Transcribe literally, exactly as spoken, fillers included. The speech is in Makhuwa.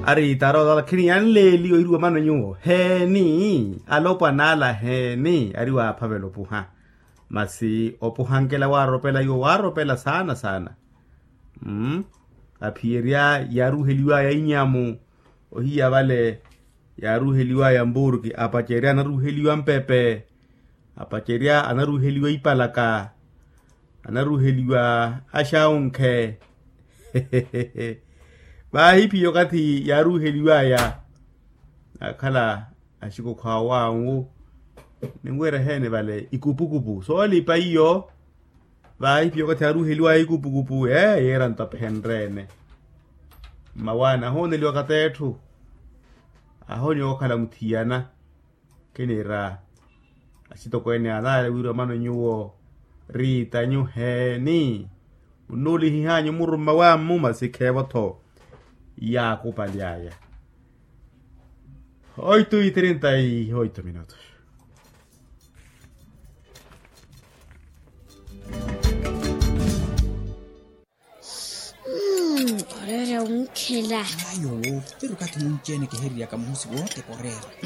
Ari tarota lakini yanleeliwa iriwa mano nyuwo heeni? Alopwa nala heeni ari waaphavela opuha? Masi opuhankela waaropela iwo waaropela saana saana. Mmm. Aphiyerya yaaruheliwaya inyamu ohiya vale, yaaruheliwaya mburki apacerya anaruheliwa mpepe, apacerya anaruheliwa ipalaka, anaruheliwa axawunkhe. Vaahi phiya okathi yaaruheliwaya akhala axikokho awo awu. Ninwira eheene vale ikupukupu soolipa iyo. Vaahi phiya okathi yaaruheliwaya ikupukupu ee yeera nto aphenreene. Mmawaani ahooneliwa kateetthu, ahooniwa okhala muthiyana. Kiniira axitokweene anaale wira omano nyuwo riitanyu heeni? Munnuulihihanyu murumma wa mmu masi kheevo-tho yaakupaly'aya. Oito e trinta e oito minutos. Mmm, oreera wunkhela. Ayo, pero okathi munci-ene kihereryaka muhosi wote koreera.